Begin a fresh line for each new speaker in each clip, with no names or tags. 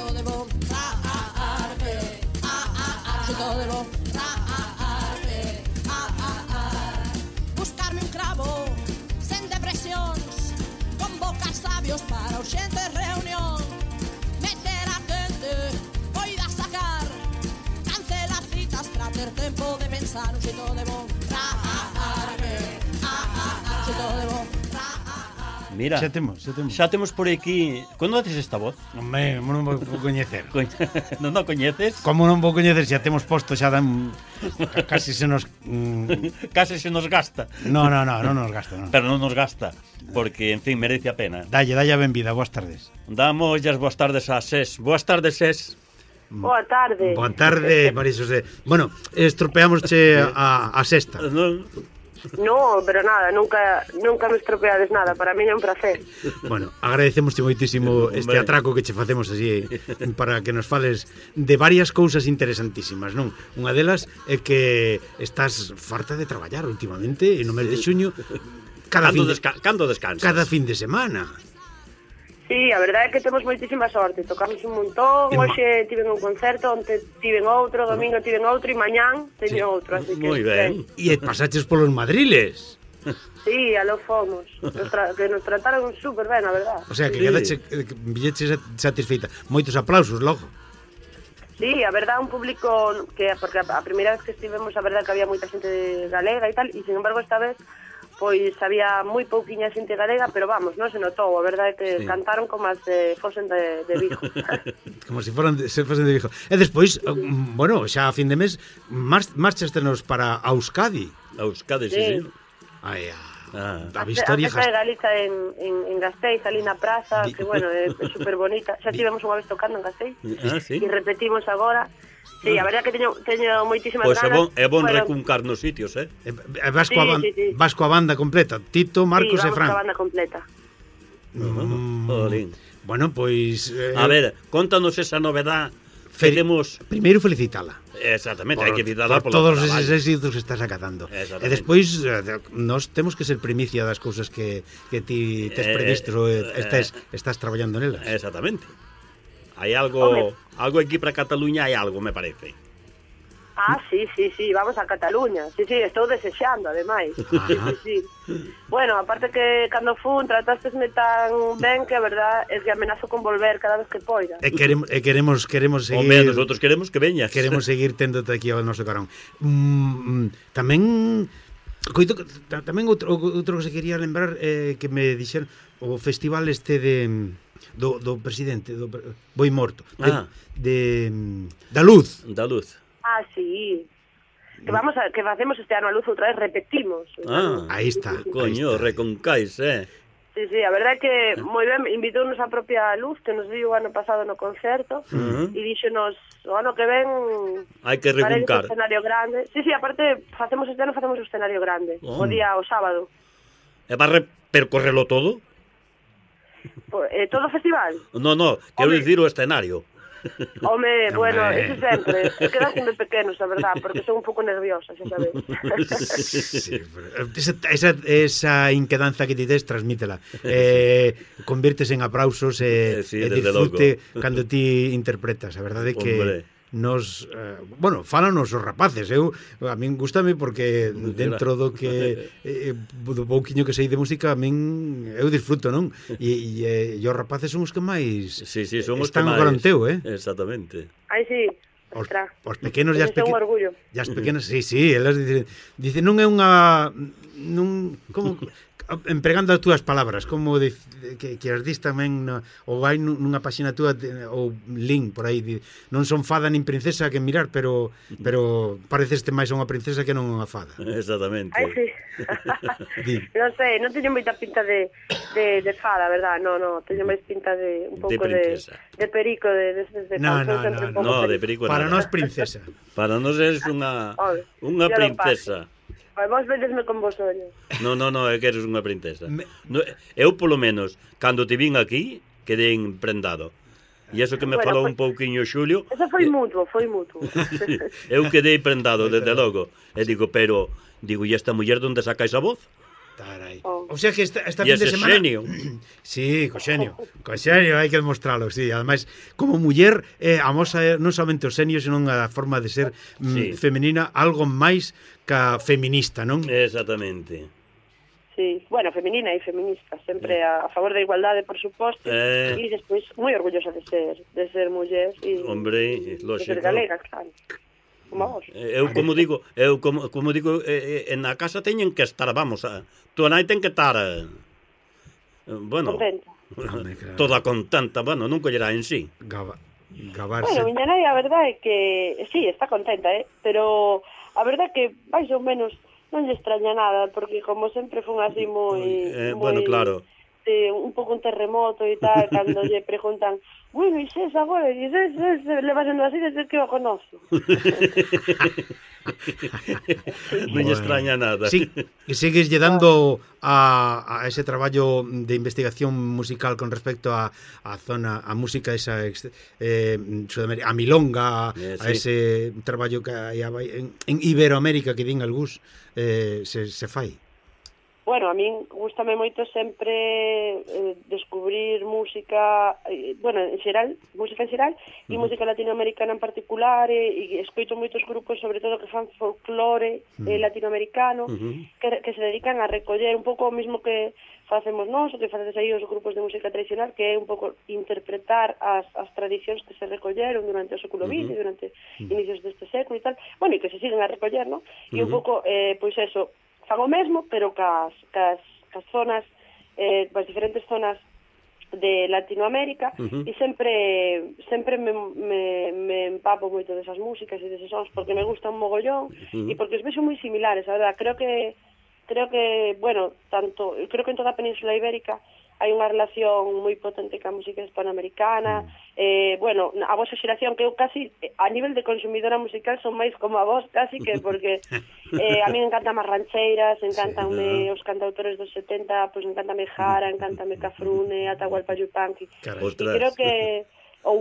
xeito de bo raarme, xeito de bo raarme, buscarme un cravo sen depresións, convocar sabios para urxente reunión, meter a quente, poida sacar, cancelar citas para ter tempo de pensar, un xeito de bo raarme, xeito de bo.
Mira,
Xa temos.
xa temos por aquí. Conoces esta voz?
Home, non vou coñecer.
Non a coñeces?
Como non vou coñecer, xa temos posto, xa dan... Casi se nos...
Case se nos gasta.
Non nos gasta, non.
Pero non nos gasta, porque, en fin, merece a pena.
Dalle a benvida, boas tardes.
Damos as boas tardes a SES. Boas tardes, SES.
Boa tarde.
Boa tarde, María Xosé. Bueno, estropeámosche a sexta.
No, pero nada, nunca me estropeades nada. Para mí é un placer.
Bueno, agradecemosche moitísimo este atraco que che facemos así para que nos fales de varias cousas interesantísimas, non? Unha delas é que estás farta de traballar últimamente e no mes de xuño
Cando descansas?
cada fin de semana.
Sí, a verdade é que temos moitísima sorte. Tocamos un montón, hoxe tiven un concerto, onte tiven outro, domingo tiven outro e mañán teño outro, así que...
Moi ben.
E pasaches polos madriles.
Sí, aló fomos. Que nos trataron super ben, a verdade.
O sea, que quedache billeche satisfeita. Moitos aplausos, logo.
Sí, a verdade, un público que... Porque a primeira vez que estivemos, a verdade que había moita xente galega e tal, e sin embargo esta vez pois había moi pouquiña xente galega, pero vamos, non se notou, a verdade é que cantaron como as fosen de Vigo.
Como se fosen de Vigo. E despois, bueno, xa a fin de mes marchastenos para Euskadi.
Euskadi, sí.
Ai,
a festa de Galiza en Gasteiz, ali na praza, que bueno, é super bonita. Xa tivemos unha vez tocando en Gasteiz e repetimos agora. Sí, a verdade que teño moitísimas ganas.
É bon recuncar nos sitios,
Vas coa banda completa, Tito, Marcos e Fran.
Sí, vamos coa banda completa.
Bueno, pois...
A ver, contanos esa novedad que temos...
Primeiro felicitala.
Exactamente, hai que felicitarla
por todos eses éxitos que estás acatando. E despois, nós temos que ser primicia das cousas que ti tes previsto e estás traballando nelas.
Exactamente. Hai algo aquí para Cataluña, hai algo, me parece.
Sí, vamos a Cataluña. Sí, estou desexando, ademais. Sí. Bueno, aparte que cando fun tratástesme tan ben que a verdad é que amenazo con volver cada vez que poida.
E queremos seguir...
Home, nosotros queremos que veñas.
Queremos seguir téndote aquí ao noso carón. Tamén outro que se quería lembrar que me dixeron o festival este do presidente do Boi Morto da Luz.
Sí. Que facemos este ano a Luz outra vez, repetimos.
Aí está.
Coño, reconcais,
Sí, a verdade é que moi ben, invitounos a propia Luz, que nos viu o ano pasado no concerto, e díxonos, o ano que ven
hai que recuncar.
Escenario grande. Sí, aparte, facemos este ano o escenario grande, o sábado.
E va a percorrelo todo?
Todo o festival?
No, quero dicir o escenario.
Home, bueno, eso sempre. Quedan sempre pequenos, a verdad, porque son un pouco nerviosa, xa sabes.
Esa inquedanza que ti tes, transmítela. Convirtes en aplausos e disfrute cando ti interpretas. A verdade é que nos, fálanos os rapaces. A min gustame porque dentro do que do pouquiño que sei de música, a min eu disfruto, non? E os rapaces son os que máis
son os
están ao garanteo,
Exactamente.
Sí.
Os pequenos e as pequenas, sí, elas dicen non é unha como empregando as túas palabras, como que as dis tamén ou vai nunha páxina túa ou link por aí, non son fada nin princesa que mirar, pero pareceste máis a unha princesa que non unha fada.
Exactamente.
Sí. Non sei, non teño moita pinta de fada, verdad? No, teño máis pinta de un pouco de perico, de
de
perico.
Para nós princesa.
Para nós és unha princesa.
Vos vedesme con vos ollos.
No, é que eres unha princesa. Eu, polo menos, cando te vin aquí, quedei prendado. E iso que me falou un pouquiño Xulio...
Eso foi mutuo.
Eu quedei prendado, desde logo. E digo, e esta muller onde saca esa voz?
Tarai. O sea que esta fin
E
de
ese
semana...
xenio.
Sí, co xenio, hai que demostralo, sí. Ademais, como muller, amosa non somente o xenio, senón a forma de ser femenina, algo máis ca feminista, non?
Exactamente.
Sí, bueno, femenina e feminista, sempre a favor da igualdade, por suposto, e despois moi orgullosa de ser muller e
hombre,
de ser galega, claro. Como vos.
Eu como digo, na casa teñen que estar, vamos, tua nai ten que estar bueno,
contenta.
Toda contenta, bueno, non collerá en sí.
Gabarse.
Bueno, miña nai a verdade é que sí, está contenta, pero a verdade é que máis ou menos non lle extraña nada, porque como sempre fun así moi
bueno, claro.
Un pouco un terremoto e tal, cando lle preguntan, bueno, e ses agora, e ses leva sendo así desde que o conozo.
Non lle extraña nada.
Sí, e sigues lle dando a ese traballo de investigación musical con respecto a zona, a música esa a milonga, a ese traballo que hai en Iberoamérica que din algús se fai.
Bueno, a min gústame moito sempre descubrir música, bueno, en xeral, música en xeral, e música latinoamericana en particular, e escoito moitos grupos, sobre todo, que fan folclore latinoamericano, que se dedican a recoller un pouco o mismo que facemos nós, o que facedes aí os grupos de música tradicional, que é un pouco interpretar as tradicións que se recolleron durante o século XX, durante inicios deste século e tal, bueno, e que se siguen a recoller, non? E un pouco, pois eso, fan o mesmo, pero cas zonas, as diferentes zonas de Latinoamérica, e sempre me empapo moito desas músicas e deses sons, porque me gustan un mogollón, e porque os vexo moi similares, a verdad, creo que, bueno, creo que en toda a Península Ibérica hai unha relación moi potente ca música hispanoamericana, bueno, a vosa xeración, que eu casi, a nivel de consumidora musical, son máis como a vos, casi que, porque a mí encantan as rancheiras, encantanme os cantautores dos 70, pois encantame Jara, encantame Cafrune, Atahualpa Yupanqui, e creo que...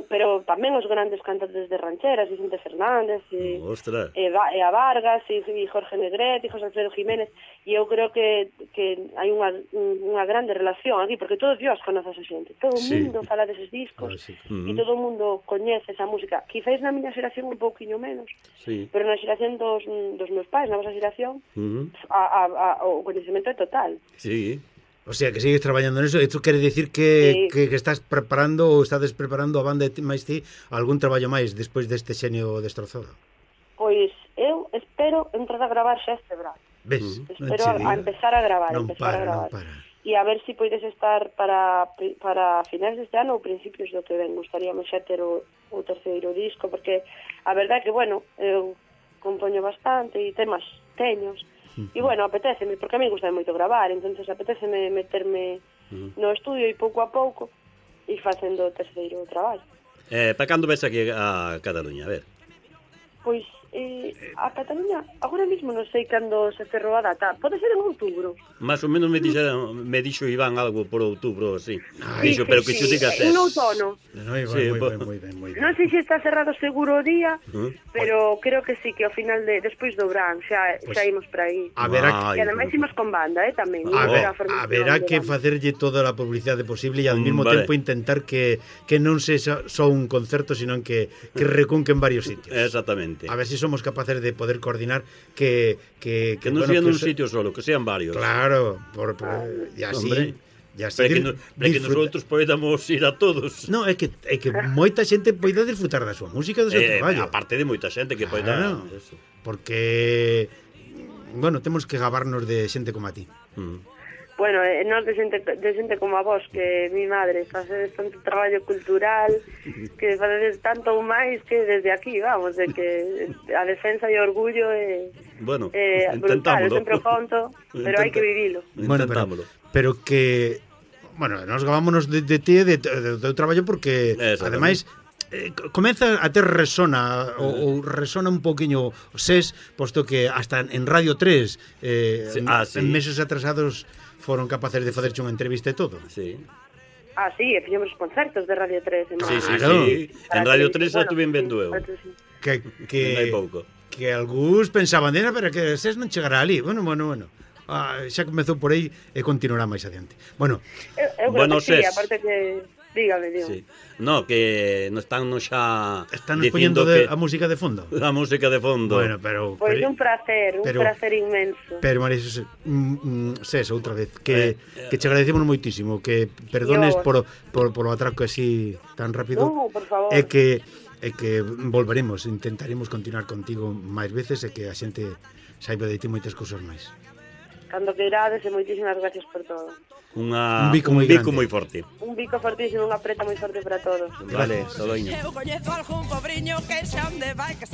pero tamén os grandes cantantes de rancheras, Vicente Fernández, e a Vargas, e Jorge Negrete, e José Alfredo Jiménez, e eu creo que hai unha grande relación aquí, porque todo Dios conoce a esa xente, todo o mundo fala deses discos, e todo o mundo coñece esa música. Quizás na miña xeración un pouquiño menos, pero na xeración dos meus pais, na vosa xeración, o coñecemento é total.
Sí.
O sea, que sigues traballando neso. Isto quere dicir que estás preparando ou estades preparando a banda máis ti algún traballo máis despois deste xenio destrozado?
Pois eu espero entrar a gravar xa este verano.
Ves?
Espero a empezar a gravar.
Non para.
E a ver se podes estar para finais deste ano ou principios do que ven. Gustaríamos xa ter o terceiro disco, porque a verdade é que, bueno, eu compoño bastante e temas teños. E, bueno, apetéceme, porque a mí gusta moito gravar, entonces apetéceme meterme no estudio e pouco a pouco e facendo o terceiro traballo.
Para cando ves aquí a Cataluña, a ver?
Pois a Cataluña agora mesmo non sei cando se cerrou a data. Pode ser en outubro.
Más ou menos me dixo Iván algo por outubro, así. Dixo, pero que xo digas
en outono.
Moi ben.
Non sei se está cerrado seguro o día, pero creo que sí, que ao final despois do verán xa imos para aí. E ademais imos con banda, tamén.
Haberá que facerlle toda a publicidade posible e ao mesmo tempo intentar que non se só un concerto, sino que recunquen varios sitios.
Exactamente.
A ver se somos capaces de poder coordinar que
non sean un sitio solo, que sean varios.
Claro, e así...
Para que nosotros podamos ir a todos.
No, é que moita xente poida disfrutar da súa música, do seu traballo.
Aparte de moita xente que poida...
Porque, bueno, temos que gabarnos de xente como a ti.
Bueno, nós de xente como a vos, que mi madre, facedes tanto traballo cultural, que facedes tanto ou máis que desde aquí, vamos, de que a defensa e o orgullo é brutal, eu sempre o conto, pero hai que vivilo.
Bueno, pero que, bueno, nos gavámonos de ti e do teu traballo porque, ademais, comeza a ter resona ou resona un poquinho o SES, posto que hasta en Radio 3 en meses atrasados foron capaces de facerche unha entrevista e todo.
Sí.
Sí, e fixemos os concertos de Radio 3.
Sí. En Radio 3 xa estuve vendo eu.
Que algúns pensaban, pero que SES non chegará ali. Bueno. xa comezou por aí e continuará máis adiante. Bueno,
bueno, sí, aparte que dígame.
Sí. No, que nos están xa
poñendo a música de fondo.
A música de fondo.
Bueno, pero
pois un placer inmenso.
Pero María Xosé, outra vez que che agradecemos moitísimo, que perdones por o atraco así tan rápido.
No, por favor.
E que volveremos, intentaremos continuar contigo máis veces e que a xente saiba de ti moitas cousas máis.
Cando que irades e moitísimas gracias por todo.
Un bico moi forte.
Un bico fortísimo, unha preta moi forte para todos.
Vale, Todoño.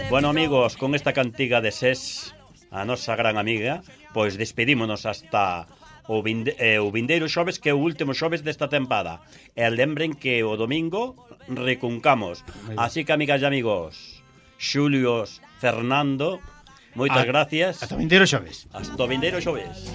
Bueno, amigos, con esta cantiga de Sés, a nosa gran amiga, pois despedímonos hasta o vindeiro xoves, que é o último xoves desta tempada. E lembren que o domingo recuncamos. Así que, amigas e amigos, Xulios, Fernando, moitas gracias.
Hasta o vindeiro xoves.
Hasta o vindeiro xoves.